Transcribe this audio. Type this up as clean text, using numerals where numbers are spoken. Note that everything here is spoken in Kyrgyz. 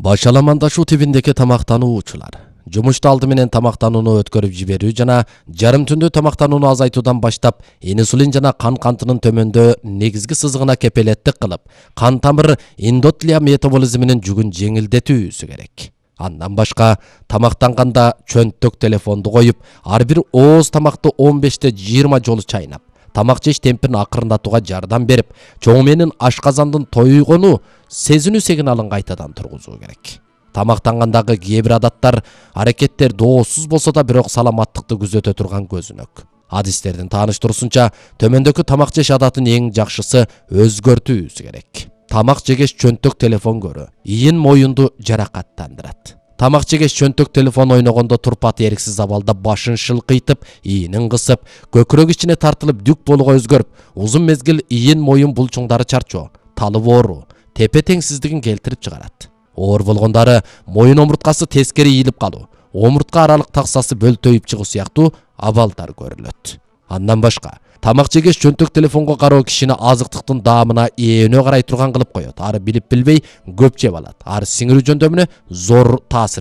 Башаламандашуу тибиндеги тамактануучулар жумушта алды менен тамактанууну өткөрүп жиберүү жана жарым түндө тамактанууну азайтуудан баштап инсулин жана кан кантынын төмөндөө негизги сызыгына кепелеттик кылып, кан тамыр эндотлия метаболизминин жүгүн жеңилдетүүсү керек. Андан башка тамактанганда чөнтөк телефонду коюп, ар бир ооз тамакты 15-20 жолу чайнап, тамак жеш темпин акырындатууга жардам берип, чоң менен ашказандын тойгону сезинүү сигналын кайтадан тургузуу керек. Тамактангандагы кээ бир адаттар, аракеттер доосуз болсо да бирок саламаттыкты күзөтө турган көзүнөк. Адистердин тааныштыруусунча, төмөндөгү тамак жеш адатын эң жакшысы өзгөртүүсү керек. Тамак жегеш чөнтөк телефон көрүү ийин моюнду жаракаттандырат. Тамак жегеш чөнтөк телефон ойногондо турпаты эриксиз абалда башын шылкыйтып, ийинин кысып, көкүрөк ичине тартылып дүк болууга өзгөрүп, узун мезгил ийин моюн булчуңдары чарчоо, талып ооруу, тепе теңсиздигин келтирип чыгарат. Оор болгондары моюн омурткасы тескери ийилип калуу, омуртка аралык таксасы бөлтөйүп чыгуу сыяктуу абалдар көрүлөт. Андан башка, тамак жегеш чөнтөк телефонго кароо кишини азыктыктын даамына эөнө карай турган кылып коет. Ары билип билбей көп жеп алат. Ары сиңирүү жөндөмүнө зор таасир